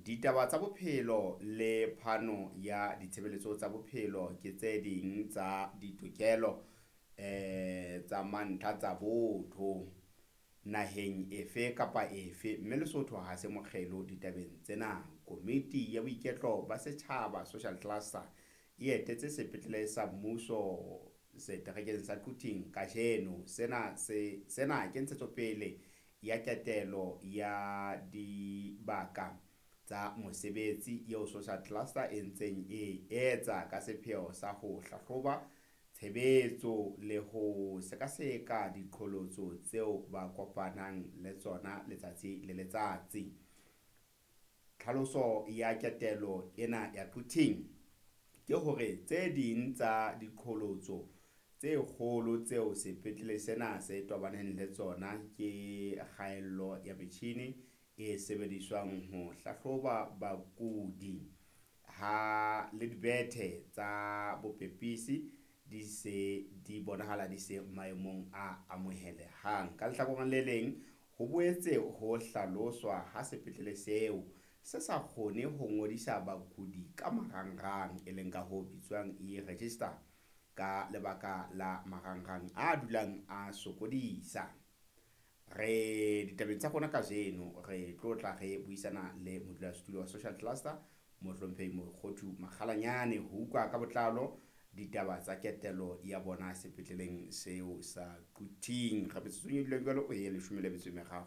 Ditaba tsa bophelo le phano ya ditshebeletso tsa bophelo ke tse ding tsa ditokelo tsa mantlha tsa botho naheng efe kapa efe, mme Lesotho ha se mokgelo ditabeng tsena. Komiti ya Boiketlo ba Setjhaba, Social Cluster, e etetse sepetlele sa mmuso seterekeng sa Quthing kajeno. Sena se sena ke ntshetsopele ya ketelo ya dibaka tsa mosebetsi eo Social Cluster e ntseng e etsa ka sepheo sa ho hlahloba tshebetso le ho sekaseka diqholotso tseo ba kopanang le tsona letsatsi le letsatsi. Tlhaloso ya ketelo ena ya Quthing ke hore tse ding tsa diqholotso tse kgolo tseo sepetlele sena se tobaneng le tsona ke kgaello ya metjhini e sebediswang ho hlahloba bakudi ha le dibethe tsa bopepisi di se di bonahala di se maemong a amohelehang. Ka lehlakoreng le leng, ho boetse ho hlaloswa ha sepetlele seo se sa kgone ho ngodisa bakudi ka marangrang, e leng ka ho bitswang e-register, ka lebaka la marangrang a dulang a sokodisa. Re ditabeng tsa rona kajeno re tlo tla re buisana le modulasetulo wa Social Cluster, Mohlomphehi Mokhothu Makgalanyane, ho utlwa ka botlalo ditaba tsa ketelo ya bona sepetleleng seo sa Quthing. Re metsotsong e dulang jwalo e 13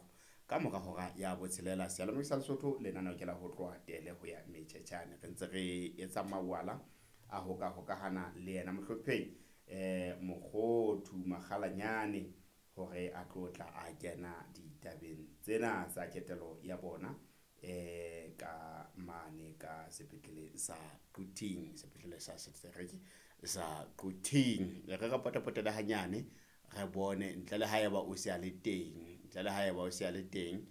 ka mora hora ya botshelela. Seyalemoya sa Lesotho, lenaneo ke la ho tloha tele ho ya metjhetjhane. Re ntse re etsa mawala a ho ka hokahana le yena Mohlomphehi Mokhothu Makgalanyane hore a tlo tla a kena ditabeng tsena tsa ketelo ya bona ka mane ka sepetlele sa Quthing, sepetlele sa setereke sa Quthing. Re re potapotele hanyane re bone ntle le haeba o se a le teng, ntle le haeba o se a le teng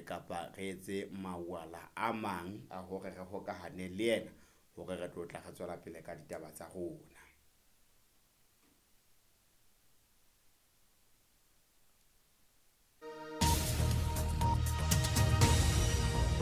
kapa re etse mawala a mang a hore re hokahane le yena hore re tlo tla re tswela pele ka ditaba tsa rona.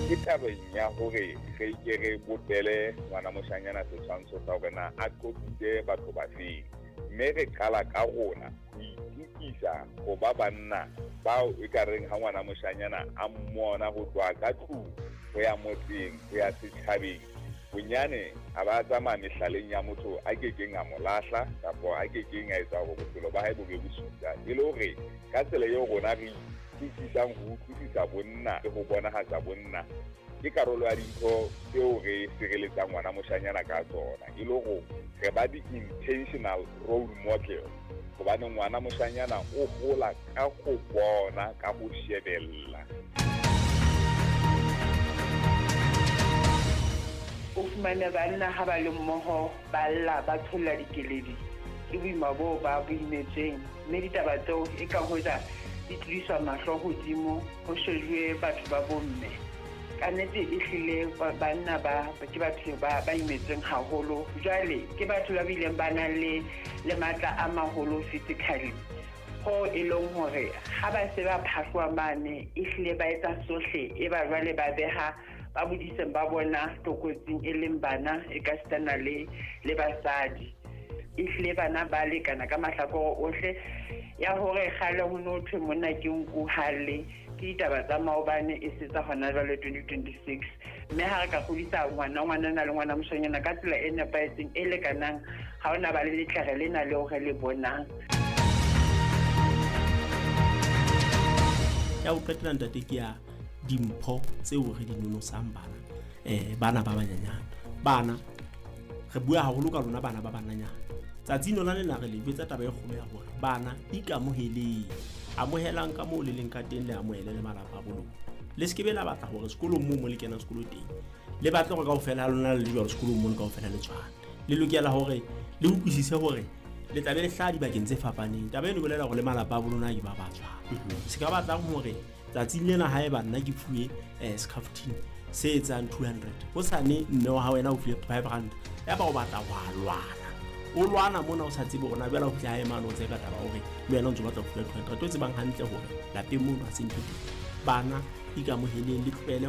Ke tabeng ya hore re ke re bopele ngwana moshanyana setshwantsho sa hore na a qoqise batho ba feng, mme re qala ka rona ho itukisa ho ba banna bao e ka reng ha ngwana moshanyana a mmona ho tloha ka tlung ho ya motseng ho ya setjhabeng, bonyane a ba tsamaya mehlaleng ya motho a kekeng a mo lahla kapa a kekeng a etsa hore bophelo ba hae bo be bosula. E le hore ka tsela eo rona re utlwisisang ho utlwisisa bonna le ho bonahatsa bonna ke karolo ya dintho tseo re sireletsang ngwana moshanyana ka tsona, e le hore re ba di-intentional role model, hobane ngwana moshanyana o hola ka ho bona, ka ho shebella. O fumane banna ha ba le mmoho ba lla, ba tsholla dikeledi ke boima boo ba bo imetsweng, mme ditaba tseo e ka hoja di tlodiswa mahlo hodimo ho shejuwe batho ba bomme. Ka nnete e hlile banna ba ke batho ba imetsweng haholo. Jwale ke batho ba bileng ba nang le matla a maholo physically, ho e leng hore ha ba se ba phahloha mane e hlile ba etsa sohle, e ba jwale ba beha ba bodiseng ba bona tlokotsing e leng bana e ka sitana le basadi. E hlile bana ba lekana ka mahlakore ohle. Ya hore kgale ho no thwe monna ke nku hale, ke ditaba tsa maobane e se tsa hona jwale 2026. Mme ha re ka kgodisa ngwana le ngwana moshanyana ka tsela e nepahetseng e lekanang, ha hona ba le letlere lena leo re le bonang. Ya ho qetela ntate ke ya dimpho tseo re di nonosang bana, bana ba banyenyane. Bana re bua haholo ka lona bana ba bananyana. Tsatsing lona lena re le jwetsa taba e kgolo ya hore bana ikamoheleng, amohelang ka moo le leng ka teng, le amohele le malapa a bo lona. Le se ke be la batla hore sekolong moo mo le kenang sekolo teng le batle hore kaofela ha lona le le jwalo sekolong mono kaofela le tshwane. Le lokela hore le utlwisise hore le tla be le hlaha dibakeng tse fapaneng. Taba eno e bolela hore le malapa a bo lona ke ba ba tshwana. Se ka batlang hore tsatsing lena haeba nna ke fuwe scaftine se etsang 200, hosane mme wa hao wena o fuwe 500, ya ba o batla wa lwana, o lwana mona o sa tsebe hore na jwale o fihla hae mane o tseka taba hore le wena o ntso batla ho fuwa 200, o tsebang hantle hore lapeng mono ha se ntho teng. Bana ikamoheleng, le tlohele